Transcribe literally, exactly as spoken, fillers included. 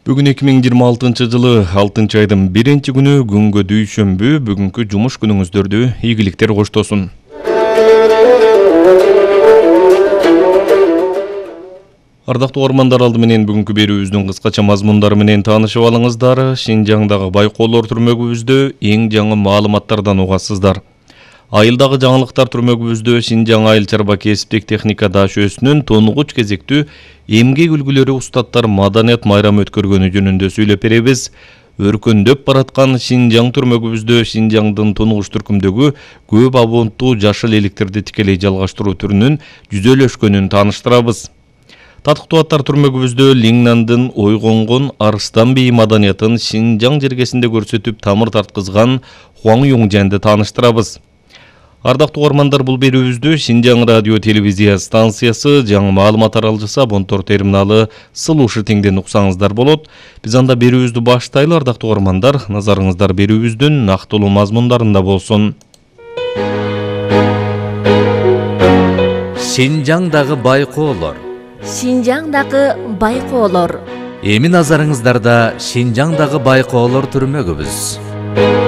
Бүгүн эки миң жыйырма алтынчы жылы алтынчы айдын биринчи күнү күнгө дүйшөмбү. Бүгүнкү жумуш күнүңүздөрдү ийгиликтер коштосун. Ардактуу угармандар, алды менен бүгүнкү берүүбүздүн кыскача мазмундары менен таанышып алыңыздар. Шинжаңдагы байкоолор түрмөгүбүздө эң жаңы маалыматтардан угасыздар. Айылдагы жаңылыктар түрмөгүбүздө Шинжаң айыл чарба кесиптик техника дашөөсүнүн тонугуч кезектүү эмгек үлгүлөрү устаттар маданият майрамы өткөргөнү жөнүндө сүйлөп беребиз. Өркөндөп бараткан Шинжаң түрмөгүбүздө Шинжаңдын тонугуч түркүмдөгү көп абонттуу жашыл эликтерди тикелей жалгаштыруу түрүнүн жүзөлөшкөнүн тааныштырабыз. Татыктуу аттар түрмөгүбүздө Лиңнандын ойгонгон арыстан бей маданиятын Шинжаң жергесинде көрсөтүп тамыр тарткызган Хуаң Юңжанды тааныштырабыз. Ардактуу угармандар, бул берүүбүздү Шинжаң радио телевизия станциясы жаңы маалымат таралжысы Абонтор терминалы Сылушы теңден уксаңыздар болот. Биз анда берүүбүздү баштайлы. Ардактуу угармандар, назарыңыздар берүүбүздүн нактылуу мазмундарында болсун. Шинжаңдагы байкоолор. Шинжаңдагы байкоолор. Эми назарыңыздарда Шинжаңдагы байкоолор түрмөгүбүз.